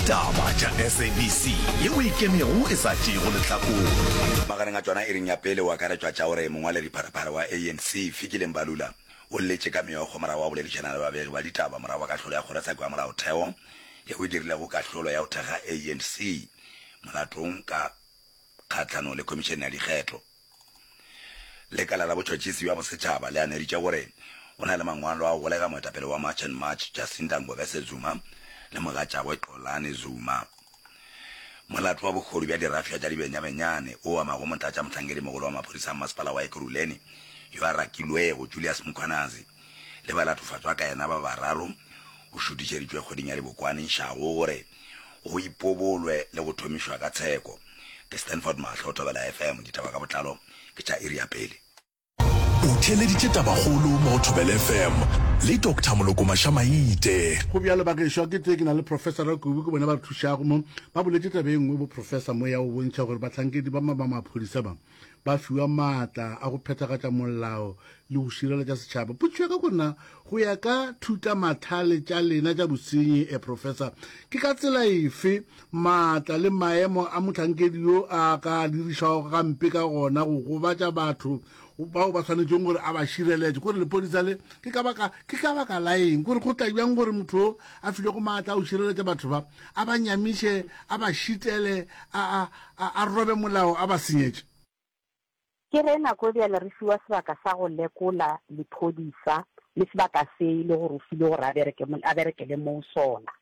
Ditaba tša SABC yeo e ikemego e sa tšeego lehlakore. Magareng a tšona iring ya pele o akaretšwa tša gore mongwaledipharephare wa ANC Fikile Mbalula o lletše ka meokgo morago ga go boledišana le babegi ba ditaba morago ga kahlolo ya kgorotsheko ya molaotheo yeo e dirilego kahlolo ya go thekga ANC molatong ka kgahlanong le khomišene ya dikgetho. Lekala la botšhotšhisi bja bosetšhaba le aneditše gore go na le mangwalo a go golega moetapele wa March and March Jacinta Ngobese Zuma le mogatšagwe Xolani Zuma. Molato wa bohodu bja dirafša tša dibenyabenyane o amago motlatšamohlankedimogolo wa maphodisa a masepala wa Ekurhuleni yo a rakilwego Julius Mkhwanazi le balatofatšwa ka yena ba bararo o šutišeditšwe kgweding ya Dibokwane išago gore go ipobolwe le go thomišwa ka tsheko. Ke Stanford Mahlo, Thobela FM, ditaba ka botlalo ke tša iri ya pele. O theeleditše tabakgolo mo go Thobela FM le Doctor Moloko Mašamaite. Go bjalo bagešo, ke tee ke na le Professor Rakubu, ke bona ba re thušago mo. Ba boletše taba e nngwe bo Professor mo ya go bontšha gore bahlankedi ba ba maphodisa ba ba fiwa maatla a go phethagatša molao le go šireletša setšhaba. Potšišo ya ka gore na go ya ka thutamahlale tša lena tša bosenyi, eh, Professor, ke ka tsela efe maatla le maemo a mohlankedi yo a ka dirišwago gampe ka gona go gobatša batho bao ba swanetšeng gore a ba šireletše? Kore lepodisa le ke ka baka ke ka baka la eng? Kore go tla bjang gore motho yo a filwego maatla a go šireletša batho ba a ba nyamiše, a ba šitele, a, a, a, a robe molao, a ba senyetše? Ke ge nako bjale re fiwa sebaka sa go lekola lephodisa le sebaka se e le gore o filwe gore a bereke, a berekele moo sona.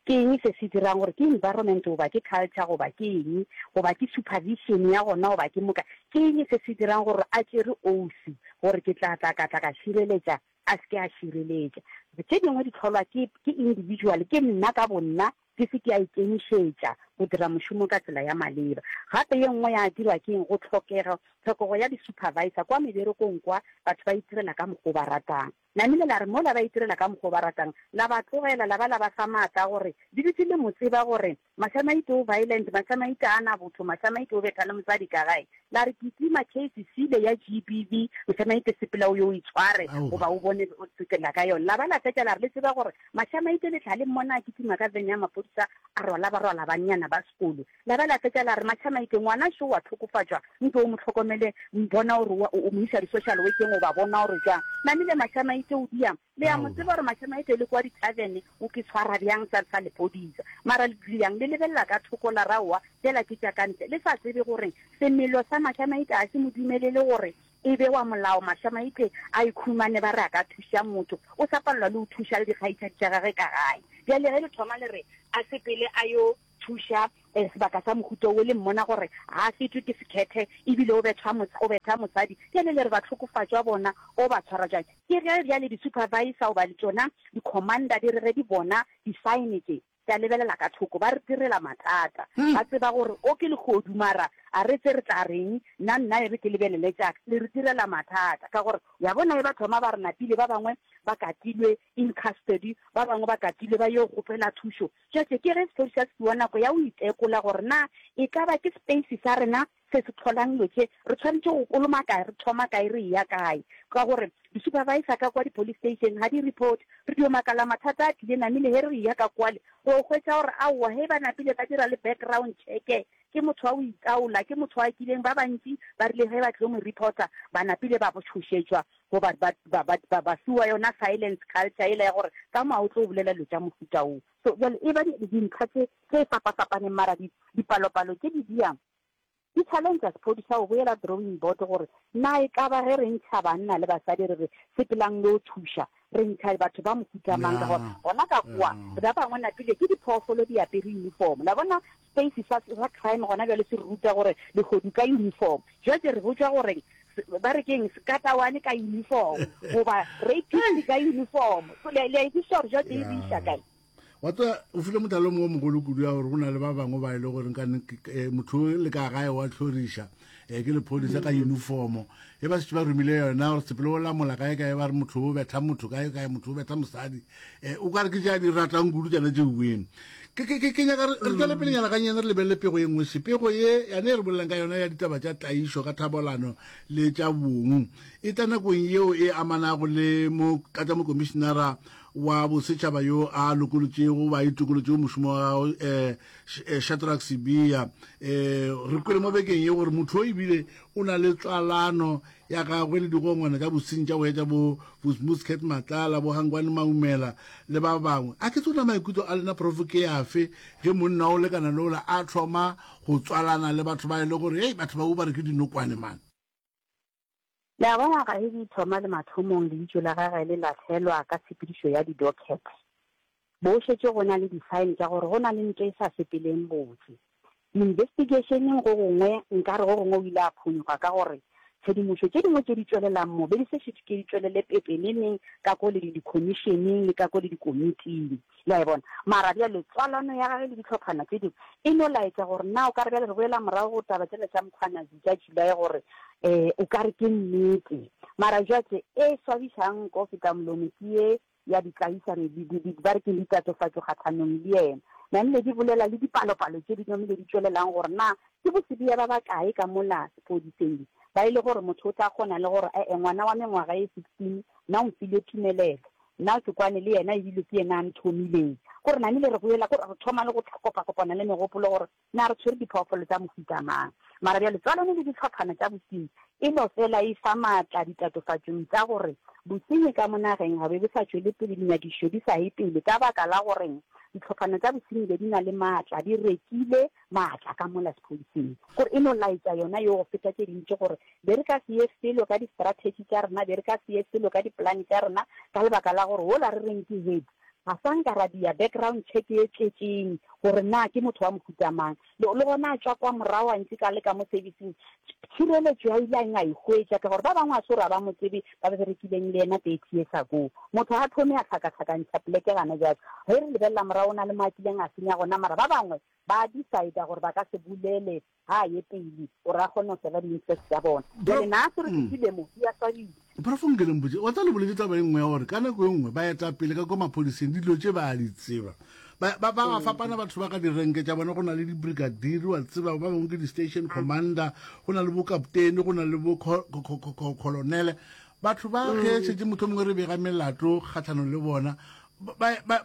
Ke eng se se dirang gore ke environment goba ke culture goba ke eng goba ke supervision ya gona goba ke moka, ke eng se se dirang gore a tšere oath gore ke tla tla ka tla ka šireletša a se ke a šireletša. Tše dingwe di hlolwa ke, ke individual, ke nna ka bonna ke se ke a ikemišetša go dira mošomo ka tsela ya maleba. Gape ye nngwe ya dirwa ke eng? Go hlokega, tlhokego ya di-supervisor kwa meberekong kwa, batho ba itirela ka mokgo ba ratang. Namile la re mola ba itirela ka mokgo ba ratang, la ba tlogela, la ba la ba fa maatla a gore le dutše le mo tseba gore Mašamaite o violent, Mašamaite a na botho, Mašamaite o betha le mosadi ka gae. La re kitima case sile ya GBV, Mašamaite sepela o yo o itshware goba o bone o tsekela ka yona. La ba la fetša la re le tseba gore Mašamaite le tla le mmona a kitima ka vene ya maphodisa a rwala barwala bannyana ba sekolo. La ba la fetša la re Mašamaite ngwana šo wa tlhokofatšwa nke o mo hlokomele bona gore o mo isa di-social workeng goba bona gore jwang. Namile Mašamaite o diang Le a mo tseba gore Mašamaite le kwa di-tavern o ke tshwara bjang sa, sa lepodisa. Mara le yang le lebelela ka thoko la ra aowa tšela ke tša ka ntle. Le sa tsebe gore semelo sa Mašamaite ga se mo dumelele gore e be wa molao. Mašamaite a ikhumane ba re a ka thuša motho, o sa palelwa le go thuša le dikgaitšadi tša gage ka gae. Bjale ge le thoma le re a sepele a yo thuša eh, sebaka sa mohuta wo le mmona gore ga a fetwe ke sekhethe ebile o bethwa o betha mosadi, bjale le re bahlokofatšwa bona o ba tshwara jwang? Ke ge bjale di-supervisor goba le tšona di-commander di re ge di bona di-sign tše, tša lebelela ka thoko, ba re direla mathata. Ba tseba gore o ke lehodu mara a re tse re tla reng, nna nna e re ke lebelele tša ka. Le re direla mathata ka gore ya bona e ba thoma ba re napile ba bangwe ba katilwe in custody, ba bangwe ba katilwe ba yo kgopela thušo. Tšatše ke ge sephodisa se fiwa nako ya go itekola gore na e ka ba ke space sa rena se se hlolang dilo tše, re tshwanetše go koloma kae, re thoma kae, re eya kae. Ka gore di-supervisor ka kwa di-police station ga di report, re dio makala mathata a tlile namile ge re eya ka kwale ro hwetša gore aowa ge ba napile ba dira le background check ke motho wa go itaola, ke motho wa kileng, ba bantši ba rile ge ba tlo mo reporter ba napile ba tšhošetšwa goba ba, ba, ba, ba, ba fiwa yona silence culture yela ya gore ka mo ga o tlo bolela dilo tša mohuta wo. So bjale e ba dintlha tše tše fapafapaneng mara dipalopalo tše di diang di challenge sephodisa go boela drawing board gore na e ka ba ge re ntšha banna le basadi re re sepelang lo thuša re ntšha batho ba mohuta mang ka gore gona ka kwa ba bangwe napile ke diphoofolo di apere uniform la bona space sa sa crime gona bjale se re ruta gore lehodu ka uniform jwale re botšwa gore ba re keng sekatawane ka uniform goba rapist ka uniform so le a e kwešiša gore jwale e re iša kae Wa tseba, o file mohlala o mongwe o mogolo kudu ya gore go na le ba bangwe ba e le gore nka eh, motho o le ka gae wa tlhoriša um ke lephodisa ka uniformo e ba šetše ba romile yona gore sepele o lamola kae kae ba re motho o betha motho kae kae motho o betha mosadi um o ka re ke tša di ratang kudu tšana tše ueng ke ke- ke- ke nyaka re re tšwele pelenyana gannyane re lebelele pego ye nngwe se pego ye yane e re bolelang ka yona ya ditaba tša tlaišo ka thabolano le tša bong e tla nakong yeo e amanago le motlatšamokomišenara. wa bosetšhaba yo a lokolotšego goba a itokolotšego mošomo wa gagwe um Shadrack Sibiya. Um re kwele mo bekeng ye gore motho o ebile o na le tswalano ya gagwe le digongwana tša bosenyi tša go etša bo Muscat Matlala, bo Hangwani Maumela le ba bangwe. A ke tsona maikutlo a lena Prof ke afe ge monna o lekana le ola a thoma go tswalana le batho ba e le gore hei batho ba ba re ke dinokwane man. Le a bona ga e di thoma le mathomong leitšo la gagwe le lahlelwa ka tshepedišo ya di-docket. Bo šetše go na le di-sign tša gore go na le ntwa e sa sepeleng botse. Di-investigationeng go gongwe nkare go gongwe o ile a phonyokga ka gore tshedimošo tše dingwe tše di tšwelelang mo be di se šetše ke di tšwelele pepeneneng ka ko le di-commissioneng le ka ko le dikomiting. Le a e bona? Mara bjale tswalano ya gage le dihlophana tše dingwe e no laetša gore na o ka re bjale re boela morago go taba tšela tša Mkhwanazi tša July gore um o ka re ke nnete. Mara jwatše e swabišang nko feta molomo ke ye ya ditlaišano, di, di, di, ba re ke ditatofatšo kgahlanong le yena. Namile di bolela le dipalopalo tše di namile di tšwelelang gore na ke bosebiya ba bakae ka mola sepodiseng ba e le gore motho o tla kgona le gore, E-e, ngwana wa mengwaga ye 16 nna o mfile tumelelo, nna ke kwane le yena ebile ke yena a nthomileng. Gore namile re boela, kore re thoma le go kopakopana le megopolo gore Na re tshwere diphoofolo tša mohuta mang? Mara bjale tswalano le dihlophana tša bosenyi e no fela e fa maatla ditatofatšong tša gore bosenyi ka mo nageng ga be bo sa tšwele pele, dinyakišišo di sa ye pele ka baka la goreng dihlophana tša bosenyi be di na le maatla, di rekile maatla ka mola sephodiseng. Gore e no laetša yona yeo go feta tše dintši gore be re ka se ye felo ka di-strategy tša rena, be re ka se ye felo ka dipolane tša rena ka lebaka la gore wola re reng ke head Ga sa nka ra dia background check ye tletšeng gore na ke motho wa mohuta mang. Le, le gona a tšwa kwa morago a ntše ka le ka mo servicing, tšhireletšo ya ile a eng a e hwetša, ka gore ba bangwe a se gore a ba mo tsebe ba ba berekileng le yena 30 years ago. Motho ga thome a hlakahlakantšha poleke gana bjale. Ge re lebelela morago o na le mo a kileng a senya gona, mara ba bangwe ba decide gore ba ka se bolele ga a ye pele gore a kgone go serva di-interest tša bona. Bjale na se re fihlile mo, di a swabisa. Prof nke le mpotše, wa tseba le boletše taba e nngwe ya gore ka nako e nngwe baetapele ka kwa maphodiseng dilo tše ba a di tseba. Ba ba ba fapana batho ba ka direnke tša bona, go na le di-brigadier, wa tseba, ba bangwe ke di-station commander, go na le bo-kaptene, go na le bo-colonele. Batho ba ge šetše mohlomongwe re bega melato kgahlanong le bona,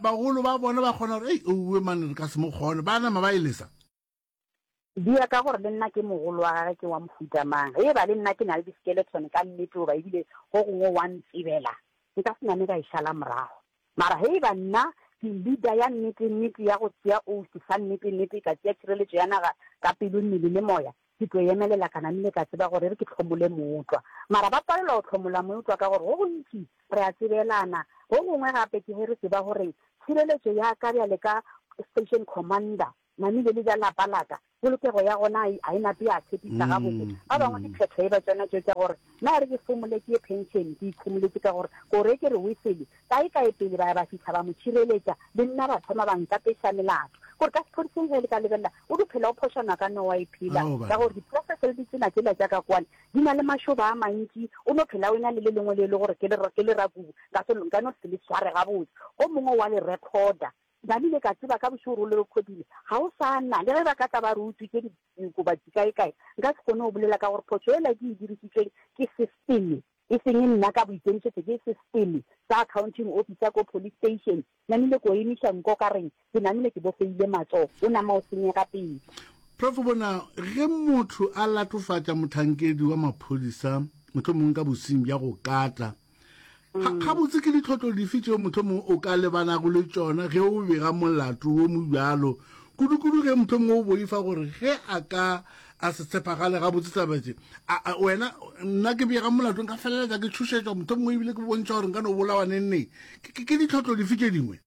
bagolo ba bona ba kgona gore, ei, ouwe mane re ka se mo kgone, ba nama ba e lesa. Di ya ka gore le nna ke mogolo wa gagwe ke wa mohuta mang. Ge e ba le nna ke na le di-skeleton ka nnete goba ebile go gongwe wa ntsebela, nka se name ka e šala morago. Mara ge e ba nna ke leader ya nnete-nnete ya go tšea oath sa nnete-nnete, ka tšea tšhireletšo ya naga ka pelo, mmele le moya, ke tlo emelela ka namile ka tseba gore e re ke hlomole mootlwa. Mara ba palelwa go hlomola mootlwa ka gore go gontši re a tsebelana. Go gongwe gape ke ge re tseba gore tšhireletšo ya ka bjale ka station commander Namile le ja lapa la ka, polokego ya gona a e nape ya tshepiša gabotse. Ba bangwe diphetho e ba tšona tšeo tša gore na e re ke fomole ke ye pension, ke ikhomoletše ka gore kore ke re wesele kae kae pele ba ya ba fihla ba mo tšhireletša, le nna ba thoma ba nkapeša melato. Gore ka sephodiseng ge le ka lebelela o di phela o phošana ka nowa e phela ka gore diprocess le ditsela tšela tša ka kwane di na le mašoba a mantši, o no phela o ena le le lengwe le e le gore ke le ke le rakubu nka no se le sware gabotse, o mongwe wa le recorder. Namile ka tseba ka bošego gore o le rekhodile. Ga o sa na. Le ge ba ka tla ba re utswitše diokobatši kaekae, nka se kgone go bolela ka gore phošo yela ke e dirišitšweng ke system, e seng nna ka boikemišetšo, ke system sa accounting officer ko police station. Namile ko emiša nko ka reng, ke namile ke bofeile matsogo, o nama o senyega pele. Prof. Bona, ge motho a latofatša mohlankedi wa maphodisa, mohlomongwe ka bosenyi bja go kata, Ga, gabotse ke ditlhotlo dife tšeo mohlomongwe o ka lebanago le tšona ge o bega molato wo mobjalo, kudu-kudu ge mohlomongwe o boifa gore ge a ka a se tshepagale gabotse taba tše? A, a, wena, nna ke bega molato nka feleletša ke tšhošetšwa, mohlomongwe ebile ke bontšha gore nka no bolawa neng neng. Ke, ke, ke ditlhotlo dife tše dingwe?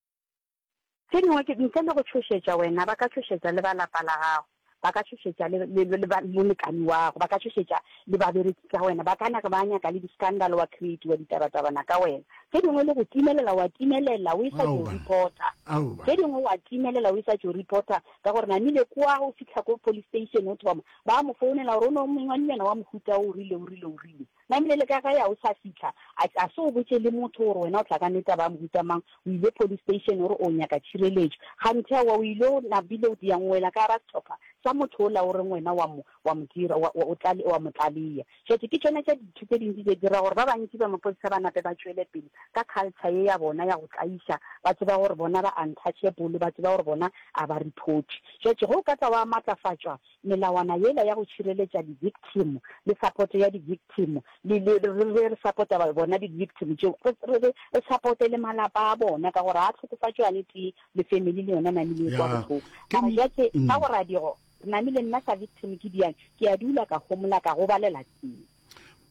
Tše dingwe ke, ntle le go tšhošetša wena, ba ka tšhošetša le ba lapa la gago, ba ka tšhošetša le, le, le, le molekani wa gago, ba ka tšhošetša le babereki ka wena, ba ka na ba nyaka le di-scandal wa create-wa ditabatabana ka wena. Tše dingwe le go timelela, wa timelela o e sa tšo reporta. Tše dingwe wa timelela o e sa tšo reporta ka gore namile kwa o fihla ko police station o thoma, ba mo founela gore o no mongwanyana wa mohuta o rile, o rile, o rile. Namile le ka gae a o sa fihla, a, a se o botše le motho gore wena o tla ka ne taba ya mohuta mang, o ile police station o re o nyaka tšhireletšo. Kganthe aowa o ile o napile o dia ngwela ka gara sehlopha sa motho ola o reng wena wa mo, wa mo dira, wa, wa, o tlale, wa mo tlaleya. Jwale ke tšona tša dintho tše dintši tše dira gore ba bantši ba maphodisa ba nape ba tšwele pele ka culture ye ya bona ya go tlaiša, ba tseba gore bona ba untouchable, ba tseba gore bona a ba reporte. Jwale ge o ka tla wa matlafatšwa melawana yela ya go tšhireletša di-victim le support ya di-victim, le, le, re, re, re support-a bona di-victim tšeo, re, re, re, re supporte le malapa a bona ka gore ga tlhokofatšo yane tee le family le yona namile e kwa bohloko. Mara jwale ka go radigo Namile nna sa victim ke diang, ke a dula ka homola ka gobalela teng.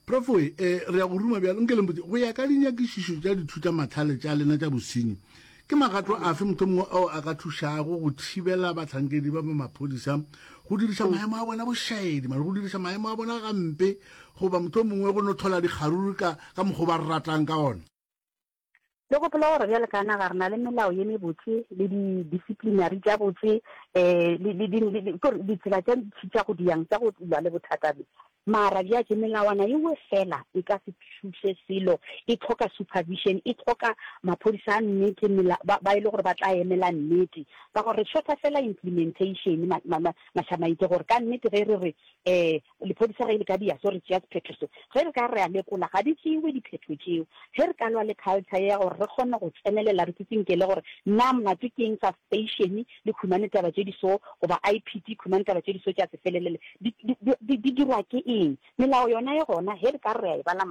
Prof we, eh, re ya go ruma bjalo, nke le mpotše, go ya ka dinyakišišo tša dithutamahlale tša lena tša bosenyi, ke magato afe mohlomongwe ao a ka thušago go thibela bahlankedi ba ba maphodisa go diriša maemo a bona bošaedi, mare go diriša maemo a bona gampe, goba mohlomongwe go no hlola dikgaruru ka, ka mokgwa o ba ratang ka ona? Le gopola gore bjale ka naga re na le melao ye mebotse le di-disciplinary tša botse um le, le, le, le, kore ditsela tša ntši tša go diang tša go lwa le bothata bjo. Mara bjatše melawana ewe fela e ka se thuše selo, e hloka supervision, e hloka maphodisa a nnete mela, ba, ba e le gore ba tla emela nnete. Ka gore re shorta fela implementation ma, ma, ma, mašamaite gore ka nnete ge re re um Lephodisa ge le ka dia so re tšea sephetho se. Ge re ka re a lekola ga di tšewe diphetho tšeo. Ge re ka lwa le culture ye ya gore re kgone go tsenelela re tsitsinkele gore na molato ke eng sa station le khumane taba tše di so goba IPT khumane taba tše di so tša se felelele di, di, di, di dirwa ke eng. Melao yona e gona ge re ka re a e bala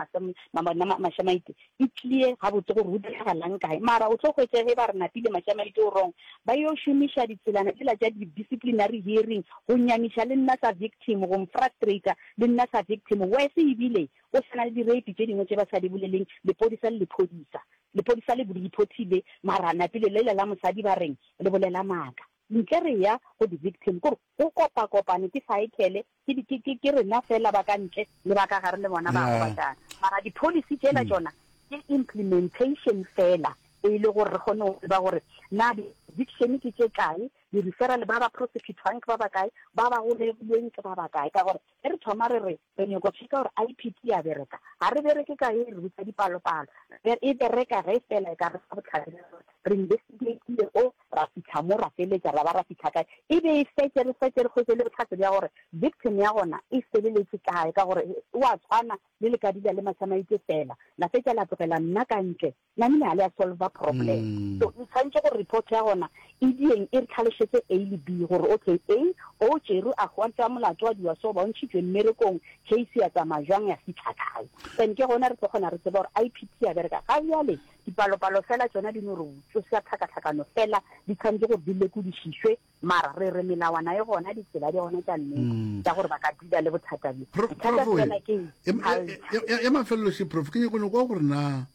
Mašamaite e clear gabotse gore go diragalang kae. Mara o tlo hwetša ge ba re napile Mašamaite o wrong ba yo šomiša ditselana tšela tša di-disciplinary hearing go nyamiša le nna sa victim, go mfrustrater le nna sa victim. Worse ebile go sa na le di-rape tše dingwe tše ba sa di boleleng, lepodisa le lephodisa. Lepodisa le reportile mara napile lela la mosadi ba reng le bolela maaka. Ntle re ya go di-victim, kore go kopakopane ke cycle, ke, ke, ke, ke rena fela ba ka ntle le ba ka gare le bona ba gobatšana. Mara di-policy tšela tšona ke implementation fela e le gore re kgone go tseba gore na di-eviction ke tše kae, di-referral ba ba prosecutwang ke ba bakae, ba ba golegilweng ke ba bakae. Ka gore ge re thoma re re re nyoko checka gore IPT ya bereka, ga re bereke ka e re botsa dipalopalo, e bereka ge fela e ka re fa bohlatse bja gore re investigatile o ra fihla mo ra feletša ra ba ra fihla kae, e be e fetše re fetše re hwetše le bohlatse bja gore victim ya gona e feleletše kae, ka gore o a tshwana le le ka dula le Mašamaite fela la fetša la tlogela nna ka ntle, namile ga le a solva problem. So e tshwanetše gore report ya gona e dieng e re tlhalošetše A le B gore okay A o tšerwe a hwantšwa molato wa diwa so ba o ntšhitšwe mmerekong case ya tsamaya jwang ya fihla kae, then ke gona re tlo kgona re tseba gore IPT ya bereka. Ga bjale Dipalopalo fela tšona di no re tsoša tlhakatlhakano fela, di tshwanetše gore di lekodišišwe, mara re re melawana e gona, ditsela di gona tša nnete tša gore ba ka dula le bothata bjo. Prof, Bothata prof, fela ke ya, culture. ya, ya mafelelo še, prof, ke nyako no kwa gore na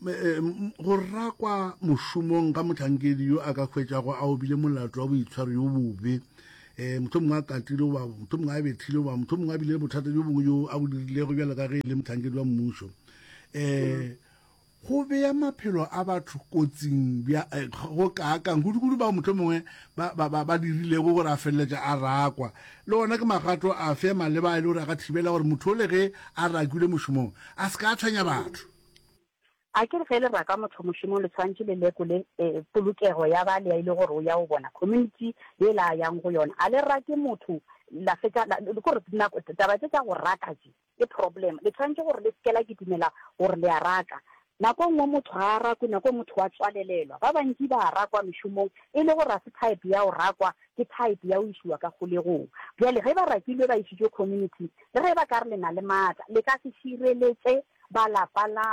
eh, m- go rakwa mošomong ga mohlankedi yo a ka hwetšago a obile molato wa boitshwaro yo bobe um mohlomongwe a katile goba mohlomongwe a bethile goba mohlomongwe a bile le bothata bjo bongwe yo a bo dirilego bjalo ka ge e le mohlankedi wa mmušo um Go bea maphelo a batho kotsing bja go kaakang, kudu-kudu bao mohlomongwe ba, ba, ba, ba dirilego gore a feleletša a rakwa. Le gona ke magato afe a maleba a e le gore a ka thibela gore motho ole ge a rakilwe mošomong a se ka a tshwenya batho? A ke re ge le raka motho mošomong le tshwanetše le lekole polokego ya ba le ya e le gore o ya go bona community yela a yang go yona. A le rake motho la fetša la, ke gore nako taba tše tša go raka tše Ke problem. Le tshwanetše gore le seke la kitimela gore le a raka. Nako e nngwe motho ga a rakwe, nako e motho wa tswalelelwa. Ba bantši ba a rakwa mešomong e le gore ga se type ya go rakwa, ke type ya go išiwa ka kgolegong. Bjale ge ba rakilwe ba išitšwe community, le ge ba ka re le na le maatla, le ka se šireletše ba lapa la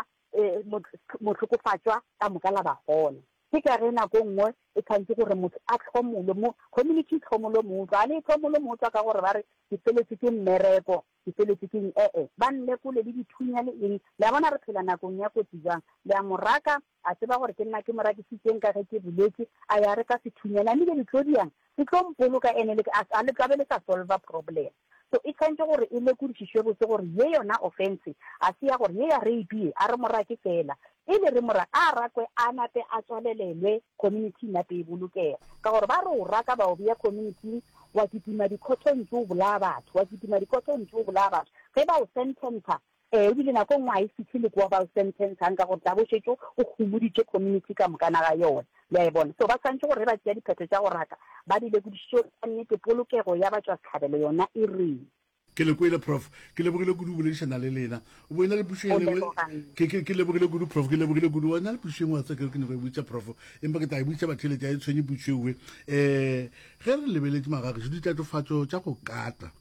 mohlokofatšwa ka moka la ba gona. Ke ka ge nako e nngwe e tshwanetše gore motho a hlomolwe mo community, e hlomolwe mootlwa. Ga le e hlomolwe mootlwa ka gore ba re ke feletšwe ke mmereko, Ke feletše ke eng? E-e, ba nlekole le dithunya le eng. Le a bona re phela nakong ya kotsi bjang? Le a mo raka, a tseba gore ke nna ke mo rakisitšeng ka ge ke boletše, a ya reka sethunya. Namile le tlo diang? Se tlo mpoloka ene le, a, a le tla be le sa solva problem. So e tshwanetše gore e lekodišišwe botse gore ye yona offense ga se ya gore ye ya rape ye, a re mo rake feela. Pele re mo raka, a rakwe a nape a tswalelelwe community nape e bolokege. Ka gore ba re o raka ba o bea community-ing, wa kitima dikhothong tše o bolaya batho, wa kitima dikhothong tše o bolaya batho. Ge ba o sententsha, Ee, ebile nako e nngwe ga e fihle le kwa ba o sentence-ang ka gore tla bo o šetše o homoditše community ka mokana ga yona. Le a e bona? So ba swanetše gore ge ba tšea diphetho tša go raka, ba di lekodišiše gore ka nnete polokego ya batšwasehlabelo yona e reng. Ke le kwele, Prof. Ke lebogile kudu go boledišana le lena. O bo ena le pušo O e nngwe. leboga nna. Ke, ke, ke lebogile kudu, Prof. Ke lebogile kudu. O na le pušo e nngwe wa tseba ke re ke nyaka go e botša Prof. Empa ke tla e botša batheeletši, ga e tshwenye pušo ewe. Um ge re lebeletše magagešu, ditatofatšo tša go kata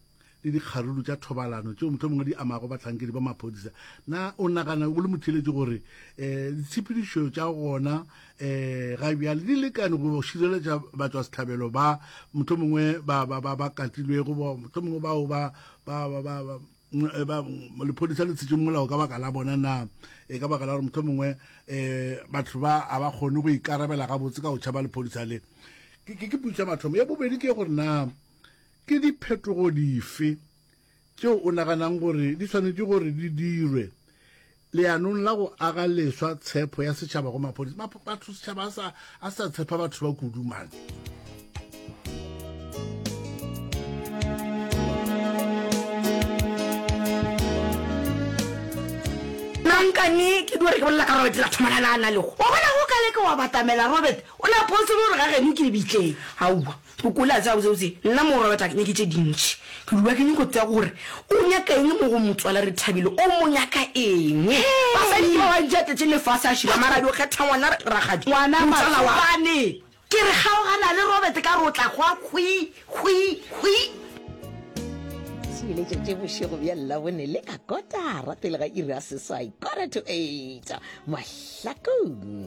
le dikgaruru tša thobalano tšeo mohlomongwe di amago bahlankedi ba maphodisa, na o nagana o le motheeletši gore um ditshepedišo tša gona um ga bjale di lekane go šireletša batšwasehlabelo ba mohlomongwe ba ba ba ba katilwego ba mohlomongwe bao ba ba ba ba ba eh, ba lephodisa le tshetše molao ka baka la bona na e ka baka la gore mohlomongwe um batho ba a ba kgone go ikarabela gabotse ka go tšhaba lephodisa le ke ke ke potšišo ya mathomo ya bobedi ke gore na ke diphetogo dife tšeo o naganang gore di swanetše gore di dirwe leanong la go aga leswa tshepo ya setšhaba go maphodisa? Batho setšhaba a sa a sa tshepa batho ba kudu man. Nankane ke dure ke bolela ka Robert la thomana la na lego. Wa bona go ka leke wa batamela Robert o la potse gore ga geno ke lebitleng. Aowa Mokole a tseba botsebotse nna mo Robert a ke nyake tše dintši. Ke dula ke nyako tseba gore o nyaka eng mo go motswala Rethabile, o mo nyaka eng? Basadi ke ba bantši a tletše lefase a šiba mara a dio kgetha ngwana rakgadi Ngwana motswala wa. Matsobane. Ke re kgaogana le Robert ka re o tla hwa hwi hwi hwi. Theeletša tše bošego bja Labone le ka kotara pele ga iri ya seswai, quarter to eight, Mahlakong.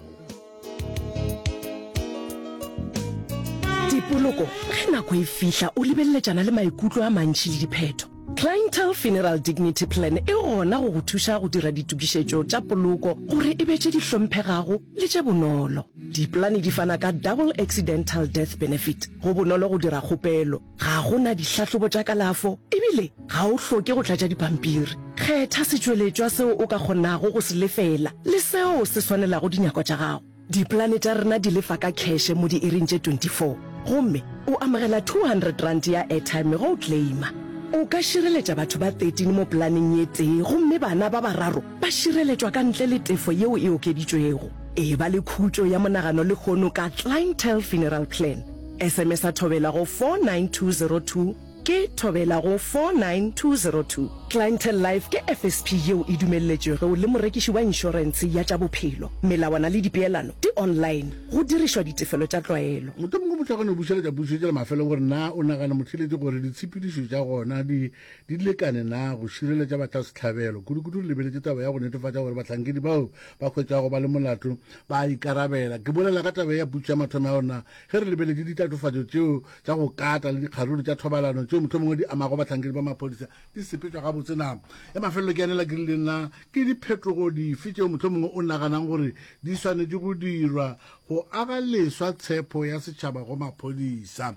Dipoloko, ge nako e fihla o lebeleletšana le maikutlo a mantši le diphetho. Clientele Funeral Dignity Plan e gona go go thuša go dira ditokišetšo tša poloko gore e be tše di hlomphegago le tše bonolo. Dipolane di fana ka Double Accidental Death Benefit. Go bonolo go dira kgopelo, ga go na dihlahlobo tša kalafo ebile ga o hloke go tlatša dipampiri. Kgetha setšweletšwa seo o ka kgonago go se lefela le seo se swanelago dinyakwa tša gago. Dipolane tša rena di lefa ka kheše mo diiring tše 24 gomme o amogela R200 ya airtime ge o claima. O ka šireletša batho ba 13 mo polaneng ye tee gomme bana ba bararo ba šireletšwa ka ntle le tefo yeo e okeditšwego. Eba le khutšo ya monagano lehono ka Clientele Funeral Plan. SMS-a Thobela go 49202 ke Thobela go 49202. Clientele Life ke FSP yeo e dumelletšwego le morekiši wa inšorentshe ya tša bophelo. Melawana le dipeelano di online go dirišwa ditefelo tša tlwaelo. Mohlomongwe motho a ka no bušeletša pušo tša la mafelelo gore na o nagana motheeletši gore ditshepedišo tša gona di di lekane na go šireletša batlasehlabelo, kudukudu re lebeletše taba ya go netefatša gore bahlankedi bao ba hwetšwago ba le molato ba a ikarabela. Ke bolela ka taba ya pušo ya mathomo ya gore na ge re lebeletše ditatofatšo tšeo tša go kata le dikgaruru tša thobalano tšeo mohlomongwe di amago bahlankedi ba maphodisa di sepetšwa gabotse na. Ya mafelelo ke anela ke rile na ke diphetogo dife tšeo mohlomongwe o naganang gore di swanetše go dirwa go aga leswa tshepo ya setšhaba go maphodisa.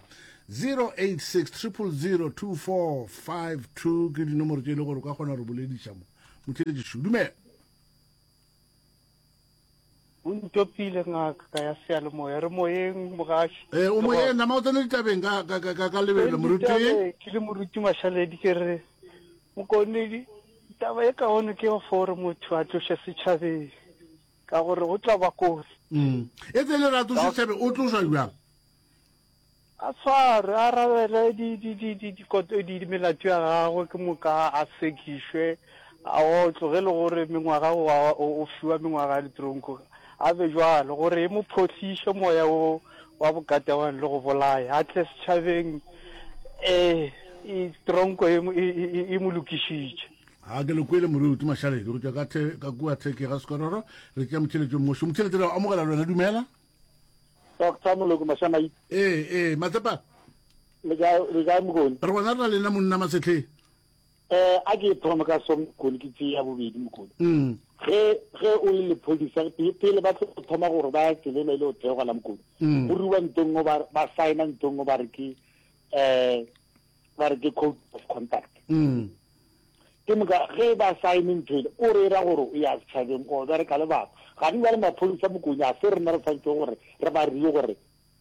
086 000 2452 ke dinomoro tše e le gore o ka kgona go re bolediša mo. Motheeletši, dumela. O ntopile ngaka ya seyalemoya re moyeng mogaši. Ee, o moyeng nama o tsene ditabeng ka ka ka ka lebelo moruti. Ke le moruti Mashaledi ke re mokonedi taba e kaone ke gore motho a tloše setšhabeng ka gore go tla ba kotsi. Mm. E tsele ra tloše setšhabeng o tlošwa bjang? A tshwarwe, a arabele di, di, di, di, dikoto, di, di melato ya gagwe, ke moka a sekišwe, a otlwe, ge e le gore mengwaga o, o, o fiwa mengwaga ya ditronko, a be bjalo, gore e mo phohliše moya wo wa bokatewane le go bolaya, a tle setšhabeng, e, e, tronko e, e, e, e mo lokišitše. A ke le kwele moruti Mašaledi go tšwa ka, the, ka kua Theke ga Sekororo, re tšea motheeletši o mongwe. Motheeletši re a amogela le wena, dumela. Doctor Moloko Mashamaite. Ee, ee, Matsepa. Le kae, le kae Mokone? Re gona re na le nna monna Masetlhe. Eh, a ke thome ka so Mokone ke tšea bobedi Mokone. Mm. Ge ge o le lephodisa pele ba tlo thoma gore ba tselelo e le o theoga la Mokone. Mm. Go riwa ntong ba ba signa ntong ba re ke eh ba re ke code of conduct. Mm. Ke moka ge ba saene ntho ele, o re ra gore o ya setšhabeng o bereka le batho. Ga di bjale maphodisa Mokone a se rena re tshwanetse gore re ba rie gore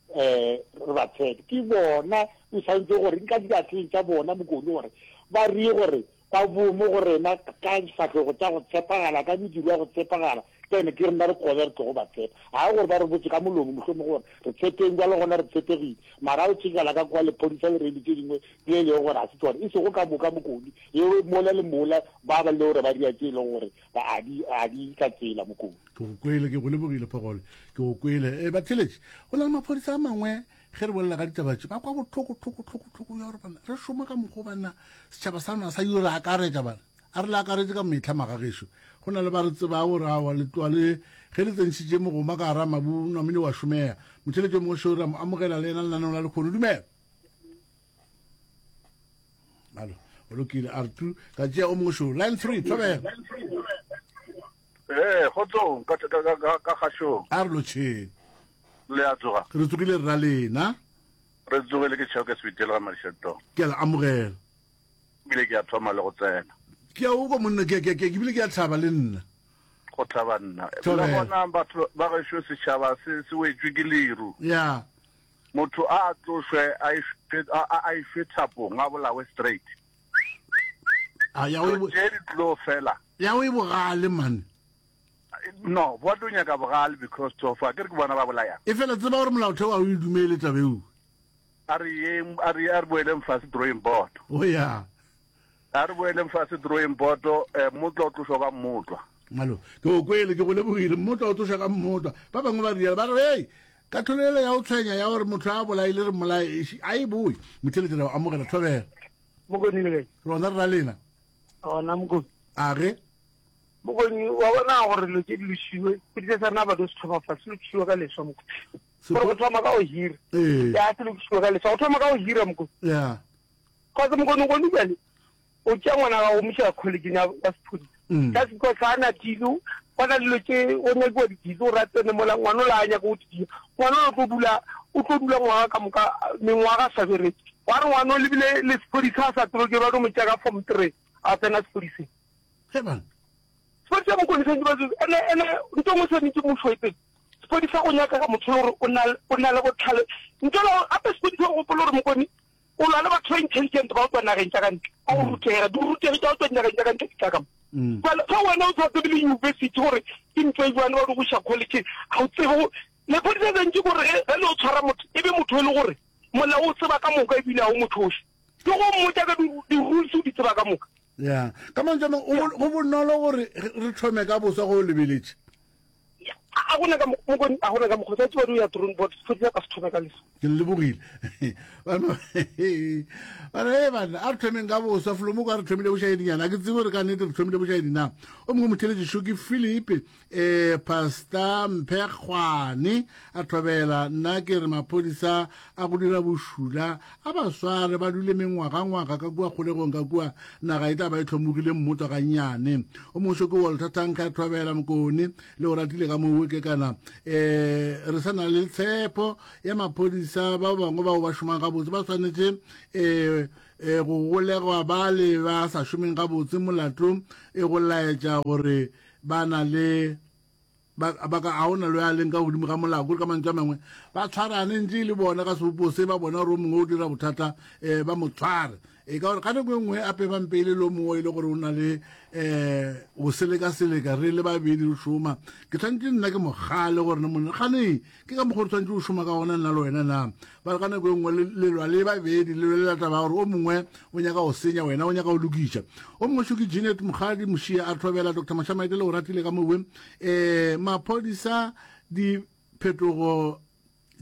um re ba tshepe. Ke bona o tshwanetse gore nka diatleng tša bona Mokone gore ba rie gore Ba boe mo go rena ka difahlego tša go tshepagala, ka mediro ya go tshepagala, then ke rena re kobe re tlogo ba tshepa. Ga e gore ba re botše ka molomo mohlomongwe gore re tshepeng bjale gona re tshepegile, mara o tšekela ka kwa lephodisa le reile tše dingwe tše e lego gore ga se tšona, e sego ka moka Mokoni, yeo mola le mola ba ba le gore ba dira tše e lego gore ba a di a di ka tsela Mokoni. Ke go kwele, ke go lebogile Phogole, ke go kwele. E, batheeletši, go na le maphodisa a mangwe Ge re bolela ka ditaba tše, ba kwa bohloko, hloko, hloko, hloko ya gore bana re šoma ka mokgwa banna setšhaba sa rena sa yo re akaretša bana. A re le akaretše ka mehla magagešo. Go na le ba re tsebago gore aowa letloa le ge le tsentšhitše mogoma ka gara mabu namile wa šomega. Motheeletši yo mongwe šo re a mo amogela le yena lenaneong la lekgono. Dumela. Alo, o lokile a re tu ka tšea o mongwe šo. Line 3, thobela. Ee, kgotsong ka ka ka ka kgašong. A re lotšheng. Le a tsoga? Re tsogile rra lena. Re tsogile ke Chauke Sebitele ga Madišetong. Ke a le amogela. Ebile ke a thoma le go tsena. Ke a o kwa monna ke ke ke ebile ke a thaba le nna. Go thaba nna. Le gona batho ba gešo setšhaba se se wetšwe ke leru. Ya. Motho a tlošwe a išwe a išwe thapong a bolawe straight. A ya o tše di tlo fela. Ya o e bogale man. No, ba tlo nyaka bogale because so far ke re ke bona ba bolayang. E fela tseba gore molaotheo a o e dumele taba eo. A re yeng a re a re boeleng fase drawing board. O ya. A re boeleng fase drawing board eh, mmotlwa o tlošwa ka mmotlwa. Malo, ke o kwele ke go lebogile mmotlwa o tlošwa ka mmotlwa. Ba bangwe ba rialo ba re hey katlholo ele ya o tshwenya ya gore motho a bolaile re mmolaye a e boe. Motheletši re amogela thobela. Mokoni le kae? Rona re ra lena. Gona mokoni. A ge? Mokoni wa bona gore dilo tše di lošiwe, sepodisa sa rena ba tlo se thoma fa, se lokišiwe ka leswa mokoni. Gore go thoma ka go hira. Ee. Ya se lokišiwe ka leswa, go thoma ka go hira mokoni. Ya. Cause mokoni gone bjale o tšea ngwana gago o mo iša college ya ya sepodisa. Mm. Just because ga a na deal, go na dilo tše go nyakiwa di-deal gore a tsene mola ngwana ola a nyaka go di dira. Ngwana ola o tlo dula o tlo dula ngwaga ka moka mengwaga a sa bereke. Wa re ngwana o lebile le sepodisa a sa tsebe ke ba tlo mo tšea ka form three a tsena sepodiseng. Ge bana. Sepodisa mokone santse ba ene ene ntho nngwe swanetše mmušo e pele. Sepodisa go nyakega motho le gore o na o na le botlhale. Ntle le gore gape sepodisa o gopole gore mokone o lwa le batho ba intelligent ba go tswa nageng tša ka ntle. Ba go rutega, dirutegi tša go tswa dinageng tša ka ntle di tla ka mo. Jwale ge wena o sa tsebe le university gore ke ntho e jwang ba di go iša college ga o tsebe go lepodisa santse gore ge ge le o tshwara motho e be motho e le gore molao o tseba ka moka ebile ga o mothoše. Ke go mmotša ka di-rules o di tseba ka moka. Ya, ka mantšu a mangwe, go bonolo gore re thome ka boswa ge o lebeletše. A gona ka mokgwa, a gona ka mokgwa, tsa tseba ya drone board, sephodisa ka se thome ka leso. Ke le lebogile. Bana, bana, hey bana, a re thomeng ka boswa, Flomoko a re thomile bošaedinyana, a ke tsebe gore ka nnete re thomile bošaedi na. O mongwe motheletši šo ke Philip, eh, Pastor Mphekgwane a thobela, nna ke re maphodisa a go dira bošula a ba sware ba dule mengwagangwaga ka kua kgolegong ka kua, naga e tla ba e hlomogile mmotwa gannyane. O mongwe šo ke Walter Tanka a thobela, Mokone le o ratile ka moo ke kana eh, re sa na le tshepo ya maphodisa ba bangwe bao ba šomang gabotse ba swanetše eh, eh, go golegwa ba le ba sa šomeng gabotse molato e go laetša gore ba na le ba ba ka a ona lo ya leng ka godimo ga molao kore ka mantšu a mangwe ba tshwarane ntse e le bona ka sebopo se ba bona gore o mongwe o dira bothata um ba mo tshware e ka gore ka nako e nngwe ape ba mpeile le o mongwe e le gore o na le um go seleka-seleka re le babedi re šoma ke tshwanetse nna ke mogale gore ne monna gane Ke ka mokgwa o re tshwanetse go šoma ka gona nna le wena na? Ba re ka nako e nngwe le lwa le babedi, le lwelela taba ya gore o mongwe o nyaka go senya, wena o nyaka go lokiša. O mongwe šo ke Jeanette Mokgadi Mošia a thobela Doctor Mashamaite le o ratile ka mowe. Um maphodisa diphetogo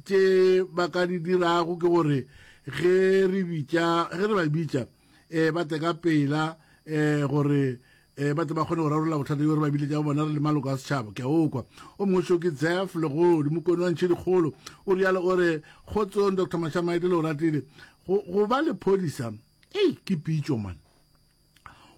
tše ba ka di dirago ke gore ge re bitša ge re ba bitša um ba tle ka pela um gore E, ba tle ba kgone go rarolla bothata bjo re ba biletšago bona re le maloko a setšhaba. Ke a o kwa. O mongwe šo ke Jeff Legodi, mokone wa ntšhi dikgolo. O rialo o re, Kgotsong, Doctor Mashamaite le o ratile. Go, go ba lephodisa, ei, ke pitšo, man.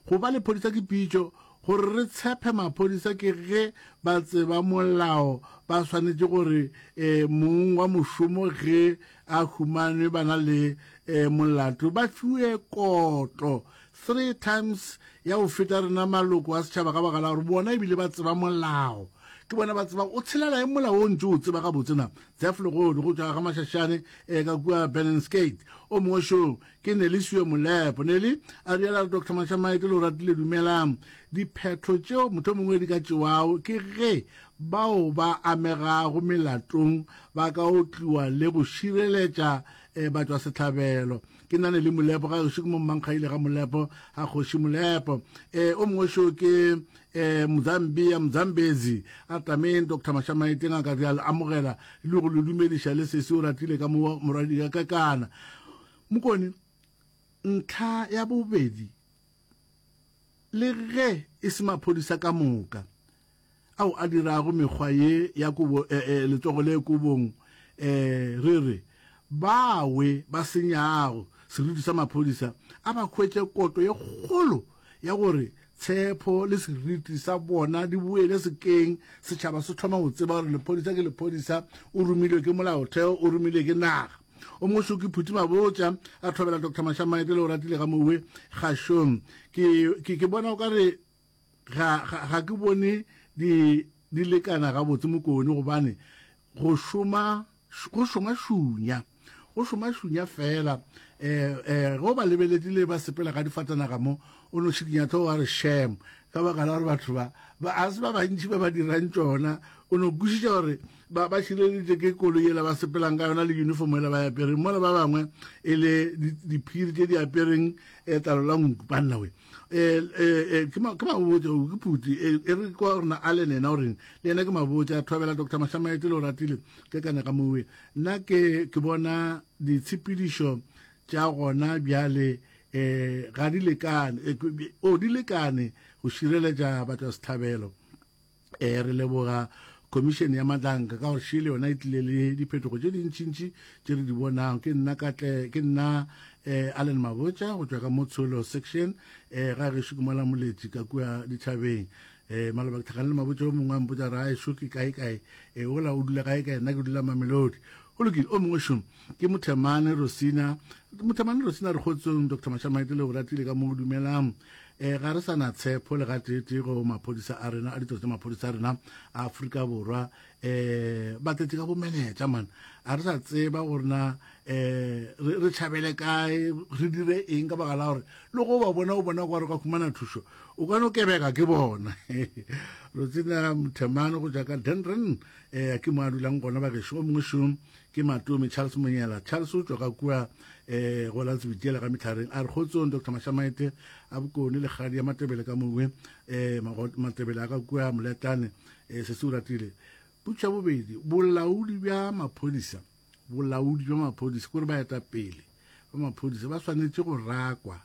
Go ba lephodisa ke pitšo. Gore re tshephe maphodisa ke ge ba tseba molao, ba swanetše gore e, mong wa mošomo ge a humanwe ba na le e, molato ba fiwe kotlo. Three times ya go feta rena maloko a setšhaba ka baka la gore bona ebile ba tseba molao. Ke bona ba tseba o tshelela eng molao o ntše o tseba gabotse na. Jeff Legodi go tšwa ga Mashashane eh, ka kua Benenskate. O mongwe šo ke Nelisiwe Molepo. Nelly a rialo a re Doctor Mashamaite le o ratile dumelang. Diphetho tšeo mohlomongwe di ka tšewago ke ge bao ba amegago melatong ba ka otliwa le go šireletša eh, batšwasehlabelo. Ke nna Nelly Molepo ga gešo ke mo Mmankgaile ga Molepo ga Kgoši Molepo. Eh, o mongwe šo ke eh, Mozambia Mozambezi a tameng Doctor Mashamaite ngaka re a le amogela le go le dumediša le sesi o ratile ka mo morwadi ka kana. Mokone ntlha ya bobedi le ge e se maphodisa ka moka ao a dirago mekgwa ye ya kobo, eh, eh, letsogo le kobong, eh, re re, bawe ba senyago seriti sa maphodisa a ba hwetše kotlo ye kgolo ya gore tshepo le seriti sa bona di boele sekeng, setšhaba se thoma go tseba gore lephodisa ke lephodisa, o romilwe ke molaotheo, o romilwe ke naga. O mongwe šo ke Phuti Mabotja a thobela Doctor Mashamaite le o ratile ga mowe kgašong. Ke, ke, ke bona o ka re ga, ga, ga ke bone di, di lekana gabotse Mokone gobane go šoma, go šoma šunya, go šoma šunya fela. Eh, eh, ge o ba lebeletše le ba sepela ka difatanaga mo, o no šikinya hlogo wa re shame, ka baka la gore batho ba, ba, a se ba bantši ba ba dirang tšona. O no kwešiša gore ba, ba šireleditše ke koloi yela ba sepelang ka yona le uniform yela ba e apereng, mola ba bangwe e le diphiri tše di apereng eh, tlalo la nku. Banna we, eh, eh, eh, ke ma, ke mabotša, o, ke phuti, eh, e re kwa rena Allen yena o reng, le yena ke mabotša, thobela Doctor Mashamaite le o ratile, ke kane ga mowe. Nna ke, ke bona ditshepedišo tša gona bjale, eh, ga di lekane, eh, o, di lekane go šireletša batšwasehlabelo. Eh, re leboga Khomišene ya Matlanka ka gore šele yona e tlile le diphetogo tše dintšintši tše re di bonang. Ke nna Katle, ke nna eh, Allen Mabotja go tšwa ka mo Tsholo section eh, ga gešo ke mola Moletši ka kua dithabeng. Eh, maloba ke tlhakane le Mabotja o mongwe a mpotša ra ešo ke kae kae, eh, ola o dula kae kae, nna ke dula Mamelodi. Go lokile, o mongwe šo ke Mothemane Rosina. Mothemane Rosina re kgotsong Dr. Mashamaite le o ratile ka mo dumelang. E, ga re sa na tshepo le gateetee go maphodisa a rena, a ditiro tša maphodisa a rena a Afrika Borwa. E, ba tletše ka bomenetša man. A re sa tseba gore na e, re, re tšhabele kae, re dire eng ka baka la gore le go ba bona o bona kwa re ka humana thušo, o ka no kebeka ke bona. Rotsina Mothemane go tšwa ka Dendren, e, ke mo a dulang gona bagešo. O mongwe šo Ke Matome Charles Monyela. Charles o tšwa ka kua eh, go la Tsebitiela ga Mehlareng. A re kgotsong Doctor Mashamaite a Bokone le kgadi ya Matebele ka mongwe eh, Matebele a ka kua Moletlane eh, se se o ratile. Potšišo ya bobedi, bolaodi bja maphodisa, bolaodi bja maphodisa, kore baetapele ba maphodisa ba swanetše go rakwa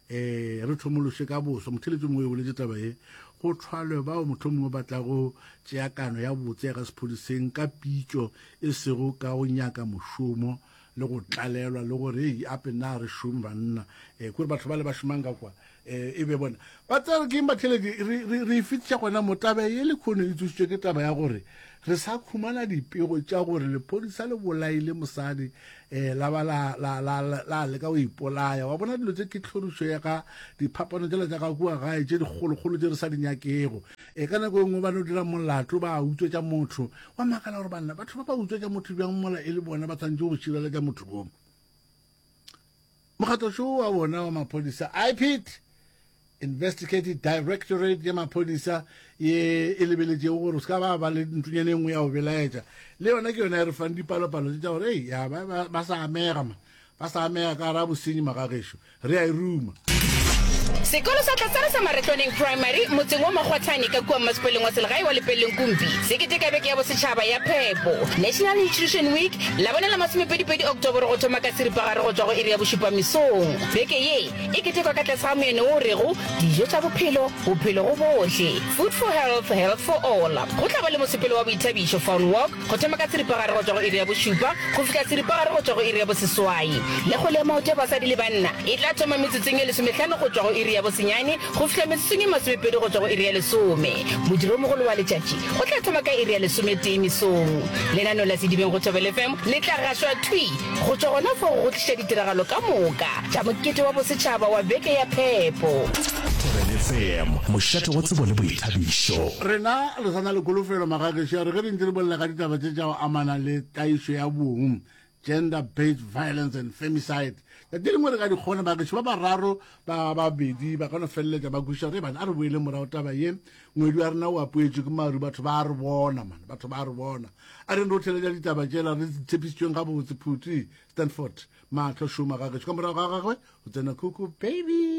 eh re thomološe ka boswa motheletši mongwe o boletše taba ye go thwalwe bao mohlomongwe ba tlago tšea kano ya botse ya ka sephodiseng ka pitšo e sego ka go nyaka mošomo le go tlalelwa le gore ei ape na re šome banna um kore batho ba le ba šomang ka kwa um e be bona ba tsere ke eng batheletši re e fetiša gona mo taba ye le kgono e tsošitšwe ke taba ya gore re sa khumana dipego tša gore lephodisa le bolaile mosadi um la ba la, la, la, la, la leka go ipolaya. Wa bona dilo tše ke tlhorišo ya ka diphapano tšela tša ka kua gae tše dikgolokgolo tše re sa di nyakego. E ka nako e nngwe ba no dira molato ba utswetša motho. Wa makala gore banna batho ba ba utswetša motho bjang mola e le bona ba tshwanetše go šireletša motho wo. Mokgatlo šo wa bona wa maphodisa IPID Investigative Directorate ya maphodisa ye e lebeletšego gore o se ka ba ba le ntonyana e nngwe ya go belaetša le yona ke yona e re fang dipalopalo tše tša gore ei ya ba, ba, ba sa amega ma ba sa amega ka gara bosenyi magagešo re a e ruma. Sekolo sa Tlatsana sa Maretlwaneng Primary motseng wa Makgwathane ka kua mmasepaleng wa selegae wa Lepelleng Kumpi se keteka beke ya bosetšhaba ya phepo, National Nutrition Week, Labone la masomepedipedi Oktoboro go thoma ka seripagare go tšwa go iri ya bošupa mesong. Beke ye E ketekwa ka tlase ga moeno wo o rego, Dijo tša Bophelo, Bophelo go Bohle, Food for Health, Health for All. Go tla ba le mosepelo wa boithabišo, Fun Walk, go thoma ka seripagare go tšwa go iri ya bošupa go fihla seripagare go tšwa go iri ya boseswai. Le kgwele ya maoto ya basadi le banna e tla thoma metsotsong ye lesomehlano go tšwa go iri ya bosenyane go fihla metsotsong ye masomepedi go tšwa go iri ya lesome. Modiromogolo wa letšatši o tla thoma ka iri ya lesometee mesong. Lenaneo la Sedibeng go Thobela FM le tla gašwa thwi Go tšwa gona fao go tliša ditiragalo ka moka tša mokete wa bosetšhaba wa Beke ya Phepo. Thobela. FM, mošate wa tsebo le boithabišo. Rena re sa na le kholofelo magagešo ya re ge re ntse re bolela ka ditaba tše tša go amana le tlaišo ya bong, gender based violence and femicide, tšatši lengwe re ka di kgona bagešo ba bararo ba babedi ba ka no feleletša ba kwešiša gore bana a re boele morago taba ye ngwedi wa rena o apoetšwe ke maru batho ba re bona man batho ba re bona a re re theletša ditaba tšela re tshepišitšweng gabotse phuti stanford mahlo šoma gagešo ka morago ga gagwe go tsena khuku baby.